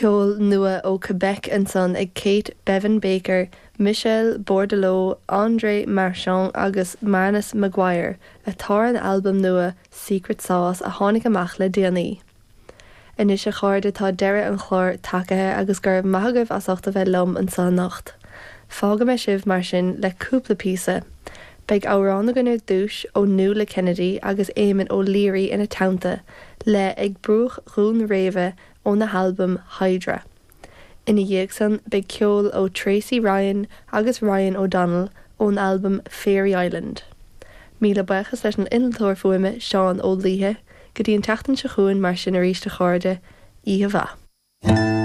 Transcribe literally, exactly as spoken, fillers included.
Ceol nua ó Quebec ansan ag Kate Bevan Baker, Michel Bordeleau, André Marchand agus Manus McGuire atá ar an albam nua Secret Sauce a tháinig amach le déanaí. Anois a chairde tá deireadh an chláir tagaithe agus go raibh maith agaibh as ucht a bheith liom anseo anocht. Fágfaidh mé sibh mar sin le cúpla píosa. Beidh amhrán againn ar dtús ó Nuala Kennedy agus Éamon O'Leary ina teannta le ag bruach Dhún Réimhe óna halbam Hydra. Ina dhiaidh san beidh ceol ó Tracy Ryan agus Ryan O'Donnell ón albam Fairy Island. Míle buíochas leis an innealtóir fuaime Seán Ó Laoithe, go dtí an tseachtain seo chugainn mar sin arís a chairde, oíche mhaith.